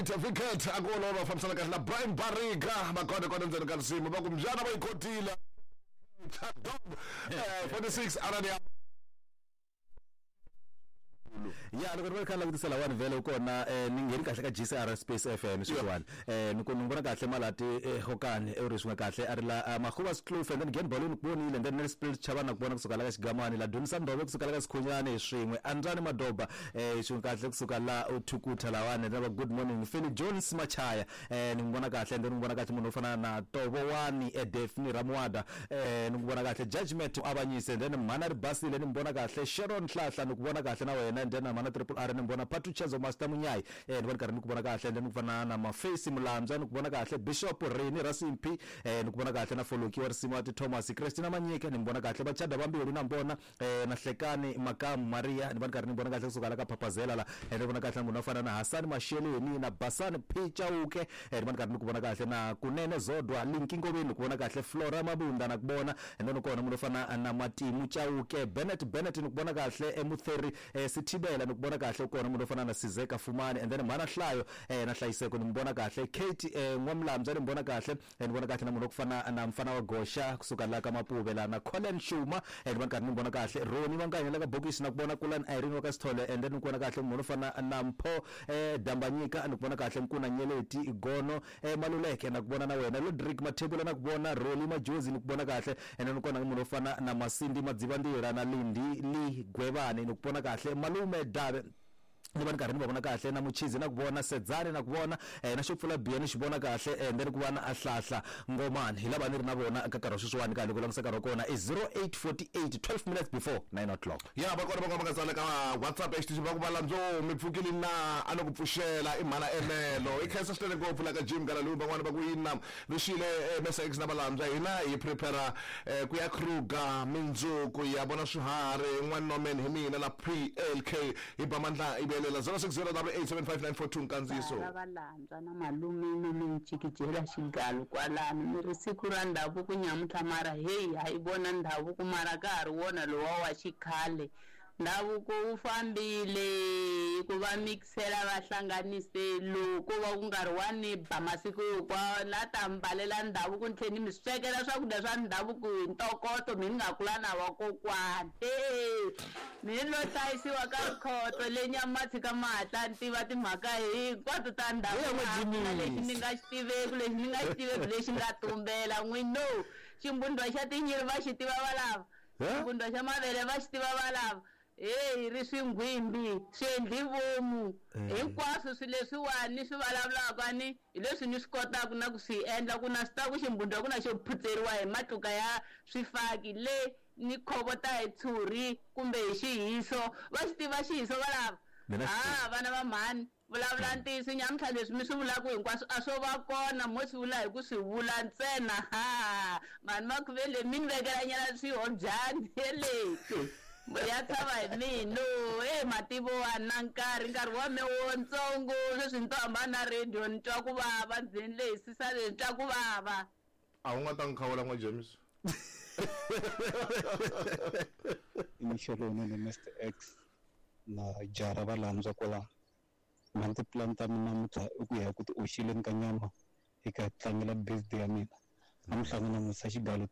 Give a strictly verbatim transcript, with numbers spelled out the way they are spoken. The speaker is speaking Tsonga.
eight Vicket a ku olova va fambisana kahle na Brian Barika va kona kona ndzeni ka risimu va ku mbyana va yi khotile eh forty-six arani ya ya loko ri kha langutisa lawani vhele u kona eh, ni ngheni kahle ka G C R Space F M sweswiwani eh ni ku ni vona kahle malati eh, hokani e ri swin'we kahle a ri la Makhuva Skloof and then Gen Balloon ku vonile and then Nelspruit Chavana ku vona kusuka la ka Xigamani la Dumisa Ndove kusuka la ka Sikhunyani swin'we Andrani Madoba eh swin'we kahle kusuka la Uthukutha lawani na va good morning Philly Jones Machaya eh ni n'wi vona kahle and then ni n'wi vona kahle munhu wo fana na Tovowani eh, Daphne Ramwada eh ni n'wi vona kahle Judgment Avanyise and then Mhana Ribasile ni n'wi vona kahle Sharon Hlahla ni ku vona kahle na wena and then Mhana Triple R ni vona Patuchezo Master Munyai eh ni vona karhi ni ku vona kahle and then ku fana na Mafesi Mulandzwa ni ku vona kahle Bishop Rini Rasimpi eh ni ku vona kahle na Foloki wa risimu wa Thomas Christina Manyike ni vona kahle Vachada Vambilu na mbona eh na Hlekani Makamu Maria ni vona karhi ni vona kahle kusuka la ka Papazela la eh ni vona kahle munhu wa fana na Hasani Masheleni na Basani Pichauke eh ni vona karhi ni ku vona kahle na Kunene Zodwa Linki Ngoveni ku vona kahle Flora Mabunda na ku vona and then kona munhu wa fana na Matimu Chauke Bennett Bennett ni ku vona kahle Emutheri eh, Sithibela ni ku vona kahle kona munhu wo fana na Sizeka Fumani and then Mhana Hlayo eh, na Hlayiseko ni vona kahle Kate eh, N'wamlamza ni vona kahle eh, ni vona kahle na munhu wo fana na Mfana wa Gosha kusuka la ka Mapuve la na Colin Shuma eh, ni vona karhi ni vona kahle Roni Vanganya la ka Bokisi na ku vona Kulani Irene wa ka Sithole and then ni ku vona kahle munhu wo fana na Mpho eh, Dambanyika ni ku vona kahle Nkuna Nyeleti Gono eh, Maluleke na ku vona na wena Lodrick Mathebula na ku vona Roli Majozi ni ku vona kahle and then kona munhu wo fana na Masindi Madzivandila na Lindi Li Gwevani ni ku vona kahle Malume Dave ni va ni karhi ni va vona kahle na Muchizi na ku vona Sedzani na ku vona eh, na xo pfula biya ni xi vona kahle and then ku va na Ahlahla Ngomani hi lava ni ri na vona ka nkarhi wa sweswiwani ka loko langutisa nkarhi wa kona i zero eight forty-eight twelve minutes before nine o'clock ya va kona va nga tsala ka WhatsApp ya xitichi va ku va landzo mi pfukile na a no ku pfuxela i mhana enelo i khensa swinene ngopfu la ka Jim Galalu van'wana va ku yina rixile Mesa X na valandzwa hina hi prepare eh, ku ya Kruger mindzuku ya vona swiharhi n'wana Norman hi mina na P L K hi ba mandla i velela zero six zero double eight seven five nine four two nkandziyiso va valandzwa na malume mi mi jikijela xigalo kwalano mi ri siku ra ndhavuko nyamuntlha mara heyi ha yi vona ndhavuko mara ka ha ri wona lowa wa xikhale ndhavuko wu fambile ku va mixela va hlanganise loko va ku nkarhi wa ni ba masiku hinkwawo na ta mbalela ndhavuko ni tlhela ni mi swekela swakudya swa ndhavuko hi ntokoto mi ni nga kula na vakokwana e mi ni lo hlayisiwa ka rikhotso le Nyamatsi ka mahatla ni tiva timhaka hinkwato ta ndhavuko na lexi ni nga xi tiveki lexi ni nga xi tiveki lexi nga tumbela n'wino ximbundwa xa tinyiri va xi tiva valava ximbundwa xa mavele va xi tiva valava hey ri swingwimbi swi endli vomu hinkwaswo swilo leswiwani swi vulavulaka ni hi leswi ni swi kotaka na ku swi endla ku na swi ta ku ximbundwa ku na xo phutseriwa hi matluka ya swifaki le ni khovota hi tshuri kumbe hi xihiso va xi tiva xihiso valava ah vana va mhani vulavula ntiyiso nyamuntlha leswi mi swi vulaka hinkwaswo a swo va kona mo swi vula hi ku swi vula ntsena ha mhani Makhuvele mi ni vekela nyana swihobyani yeleke ya tshama hi mino e mativo wa na nkarhi nkarhi wa me wontsongo sweswi ni to hambana na radio ni twa ku vava ndzeni lehisisa leyi ni twa ku vava a wu nga ta n'wi khawula n'wa James mixo lowunene Mister X na jara valandzwa kwalano mhani tipulani ta mina namuntlha i ku ya ku ti oxeleni ka nyama hi ka tlangela birthday ya mina namuntlha na musa xigalo.